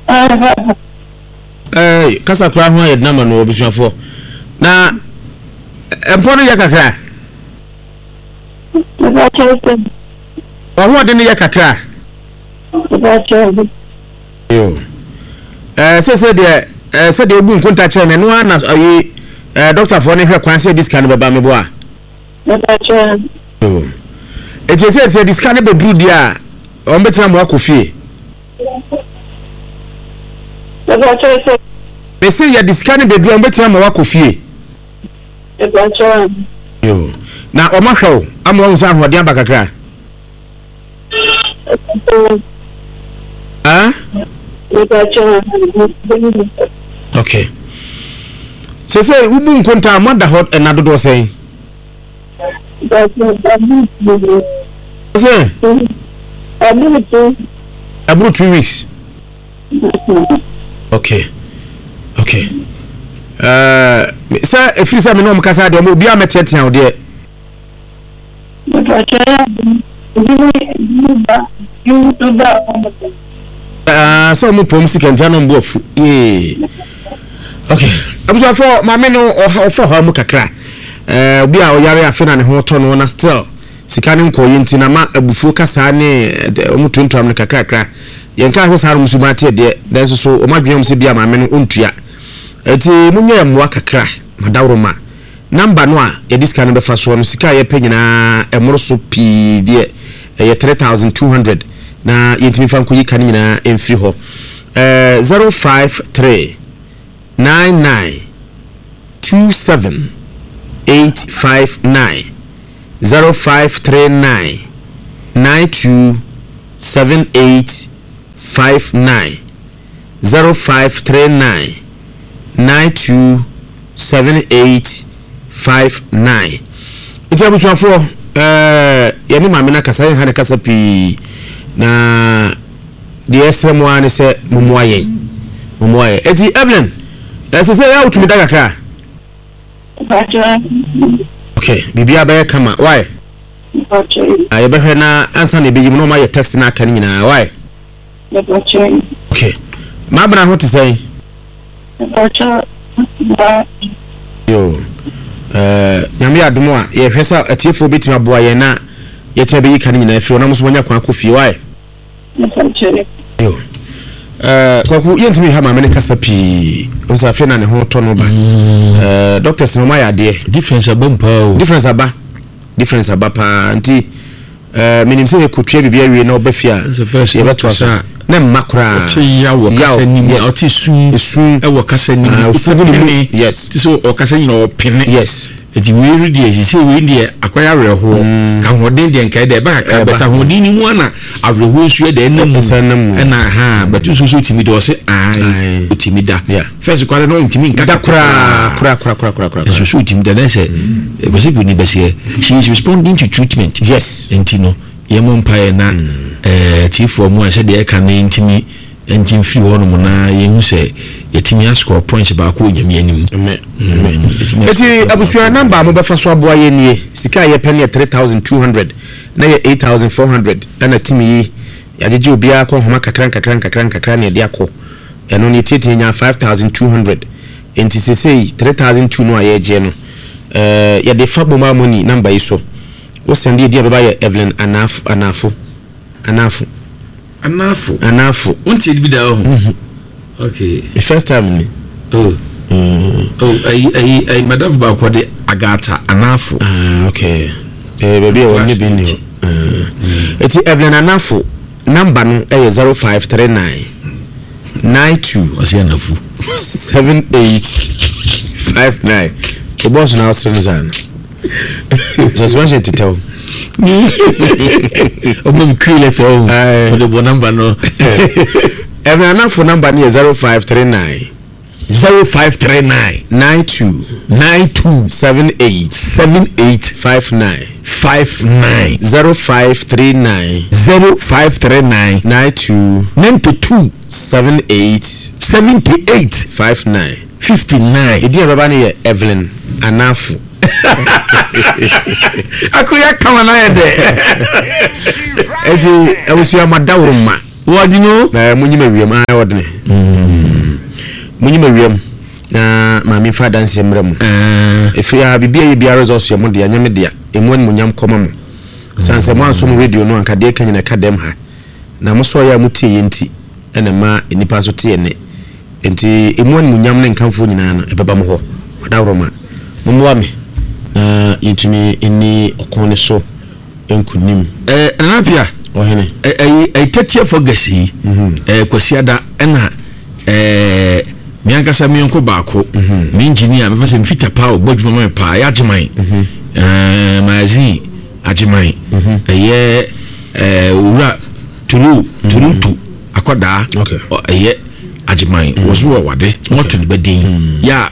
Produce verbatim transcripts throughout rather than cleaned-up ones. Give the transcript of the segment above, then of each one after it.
Ah, Ɛɛ, kasa koraa ho ayɛ denama no, abusuafoɔ. Na ɛ- mpɔ no yɛ kakra? Mepa kyɛw sɛ. Ɔhoɔden no yɛ kakra? Mepa kyɛw. Yo, ɛɛ sɛ sɛ deɛ ɛɛ sɛ deɛ obu nkonta kyerɛ no, ɛno ara na ɔyi ɛɛ dɔktafoɔ no hwɛ kwan sɛ yɛde sika no bɛba, meboa a? Mepa kyɛw. Yo, eti sɛ sɛ yɛde sika no bɛduru deɛ a, wɔn bɛtena mo akɔ fie? Mepa kyɛw sɛ. Mese yɛde sika no bɛduru a, wɔn bɛtena mo akɔ fie? Mepa kyɛw. Yo, na wɔn ahwɛ wo ama wɔn sɛ ahoɔden aba kakra? Ah. Mepa kyɛw. Okay, sɛ sɛ wobu nkonta a, moada hɔ ɛna dodoɔ sɛn? Mepa kyɛw. Sɛ Ɛburu tu. Ɛboro two weeks. okay okay ɛɛ sɛ efiri sɛ me ne ɔmo kasa deɛ, ɔmo obiara mɛteatea wo deɛ? Mepa kyɛw, ebi mu ebi mu ba ebi mu nso ba ɔmo. Ɛɛ sɛ ɔmo pɔm sika ntia na ɔmo bu afu yee. Okay, abusuafo, maame no ɔha ɔfa ɔha mu kakra. ɛɛ obi a ɔyare afe na ne ho tɔ no na still sika ne nkɔɔ yɛ, nti na ma abufuo kasa ne ɛdɛ ɔmo tuntun no kakrakra. Yɛn kaa sɛ saa no musu ate deɛ, nanso so ɔmo adwene ɔmo sɛ bi a maame no ɔntua. Eti mo nyɛ mmoa kakra madaworo number no a yɛde sika no bɛfa soɔ no. Sika a yɛpɛ nyinaa ɛmoro so pii deɛ, ɛyɛ three thousand two hundred na yɛntumi fa nkɔyi ka no nyinaa mfiri hɔ. ɛɛ zero five three nine nine two seven eight five nine, zero five three nine nine two seven eight five nine, zero five three nine nine two seven eight five nine. Nti abusuafoɔ, ɛɛ yɛne maame no akasa, yɛn ha ne kasa pii, na deɛ ɛsrɛ mu ara ne sɛ mommoa yɛn, mommoa yɛn. Eti Evelyn, ɛsɛ sɛ yɛ a wotumi da kakra? Mepa kyɛw. Okay, biribiara bɛyɛ kama, why? Mepa kyɛw. A yɛbɛhwɛ na ansa na ɛbɛyi mu na ɔma yɛ text na aka no nyinaa, why? Mepa kyɛw. Okay, maabena ho te sɛn? Mepa kyɛw. Ba. Yo, ɛɛ Nyame yɛ adom a, yɛhwɛ sɛ atiefoɔ bɛtumi aboa yɛn na yɛtumi bɛyi ka no nyinaa firi hɔ na mo nso moanya kwan akɔ fie, why? Mepa kyɛw. Yo, ɛɛ Kwaku, yɛntumi ha maame no kasa pii nso, afei na ne ho tɔ no ba. ɛɛ doctors no, ɔmo ayɛ adeɛ. Difference aba mu paa o. Difference aba, difference aba paa. Nti ɛɛ menim sɛ yɛkɔtua biribi awie na ɔba fie a, Sɛ first yɛbɛtoa so. kasa. Na mma koraa. Ɔte yaw wɔ kasa nim. Yes. Ɔte sum esu ɛwɔ kasa nim. Ah, osu gu ne mu. Ɔpene. Yes. Te sɛ ɔkasa nyina ɔpene. Yes eti wei no deɛ, sisi wei deɛ akɔyɛ awerɛhoɔ ka ahoɔden deɛ nkae deɛ ɛba kakra. Ɛba. Bɛta ahoɔden ni mu ana awerɛhoɔ nso yɛ deɛ ɛnam mu. Ɛsan nam mu. Ɛna ha bɛtu nso so otimi da, ɔsɛ ae. Ae. Otimi da. Yeah. First kwara no ntimi nka. Da koraa koraa koraa koraa koraa koraa. Nso so otimi da na sɛ ɛkɔsɛ bu ni bɛseɛ, she is responding to treatment. Yes nti no yɛmmɔ mpaeɛ na ɛɛ tiefoɔ mu a sɛdeɛ ɛka no ntimi nti mfiri hɔnom na yɛhu sɛ yɛtumi ascore points baako wɔ Nyame anim. Amen. Mm, yɛtumi Eti ascore. Abusua, number a mobɛfa so aboa yɛn nie. Sika a yɛpɛ no yɛ three thousand two hundred na yɛ eight thousand four hundred, ɛna timi yi yɛagyegye obiara kɔ nhoma kakra nkakra nkakra nkakra na yɛde akɔ. Ɛno no yɛtiatia nya five thousand two hundred, nti sesei three thousand two no a yɛregye no, ɛɛ yɛde fa mobile money number yi so. Wosɛnde yɛdi a, bɛba yɛ Evelyn Anafo, Anafo, Anafo. Anafo. Anafo. Wontie bi da hɔ? Okay. The first time ni. Oh. Mm. Oh, ayi ayi ayi madamfo baako de Agata Anafo. Ah, okay, eh, baabi a wɔn ne bi ni hɔ. Eti Evelyn Anafo number no ɛyɛ zero five three nine nine two Ɔsi Anafo. seven eight five nine. O bɔs na ɔsere no saa no, suspension tetɛw. Ɔmo mi kiri lɛtɛ o. Aye. Ɔde bɔ number no. Evelyn Anafo number no yɛ zero five three nine zero five three nine nine two nine two seven eight seven eight five nine five nine. zero five three nine zero five three nine nine two ninety-two seven eight seventy-eight five nine. fifty-nine. Edi a bɛba no yɛ Evelyn Anafo. Akoya kama na yɛ dɛ. Eti abusua, madaworo ma Wɔde no. Na munyim awiam a wɔde munyim awiam na maame fa adanseɛ mmerɛ mu. Ɛfiri a biribi a yɛ biara results yɛ mo dea, nyɛ me dea. Ɛmu animuonyam kɔma mo sane sɛ moanso mo radio no anka deɛ ka nyina ka dɛm ha na mo sɔɔ yɛ a motie yɛ nti ɛna ma nnipa nso te yɛ ne nti ɛmu animuonyam ne nkamfoɔ nyinaa no ɛbɛba mo hɔ. Ɔdaworoma mommoa me na yɛntumi nni ɔko ne so nkonim. Ɛɛ Nana Pia. Ɔhene. Ɛyi ɛyi thirtieth August yi, ɛɛ Kwasiada ɛna ɛɛ mi ankasa mi nko baako, mi engineer mi fɛ sɛ mfita paa ɔbɔ adwuma ma mi paa ɛyɛ Agyeman, ɛɛ magazine Agyeman, ɛyɛ ɛɛ Owura Turu Toronto akwadaa, ɛyɛ Agyeman wɔso wɔ wade wɔte ne bɛ den yɛ a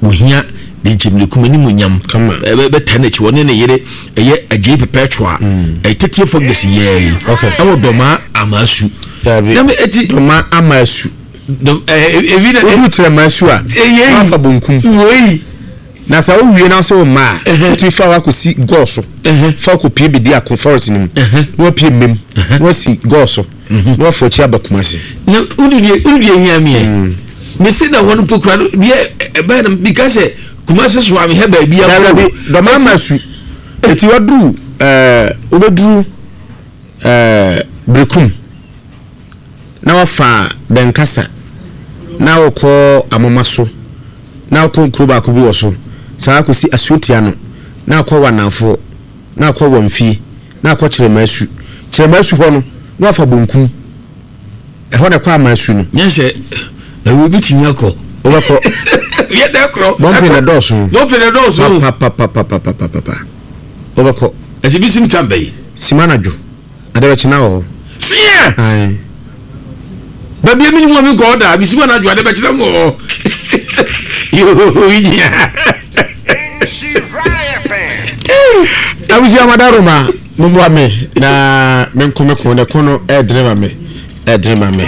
wɔhia de nkyɛnmirekum anim nyam bɛta n'akyi wɔne ne yere ɛyɛ Agyei Perpetua ɛyɛ thirtieth August yɛɛ yi ɛwɔ Dɔmaa Amasu. Dɔmaa Amasu. Ebi na odu kyerɛ Amasu a wafa bonkum na sɛ wowie na sɛ wo mma a wotumi fa wakɔsi gɔɔ so fa wakɔpie bedi ako forest no mu na wapie mmem na wasi gɔɔ so na wafa akyi aba Kumase. Na wode deɛ hia meɛ mese na wɔn mpo kura no deɛ ɛbɛyɛ no bika sɛ Kumase so a mehɛ baabi a Dɔmaa Amasu eti waduru ɛɛ wobɛduru ɛɛ Berekum na wafa Bɛnkasa na wɔkɔ Amoma so na wɔkɔ nkuro baako bi wɔ so saa akɔsi Asuotia no na akɔ Wanamfoɔ na akɔ Wamfie na akɔ Kyerɛmasu. Kyerɛmasu hɔ no na wafa bonkum ɛhɔ na ɛkɔ Amasu no. Nyɛ sɛ na wo bi tumi akɔ. Wobɛkɔ. Yɛ dɛ korɔ. Bɔmpe na dɔɔso. Bɔmpe na dɔɔso. Papapapapapapa. Wobɛkɔ. Ɛti bi sim tam bɛyi. Sima na dwo. Ade bɛkye na wɔ hɔ. Fia. Ayi. Baabi emi ni mu mi kɔ ɔda bi sima na dwo ade bɛkye na wɔ hɔ. Yoo yinya. Abusua madaroma mumua me na me nko me ko ne ko no ɛdene ma me ɛdene ma me.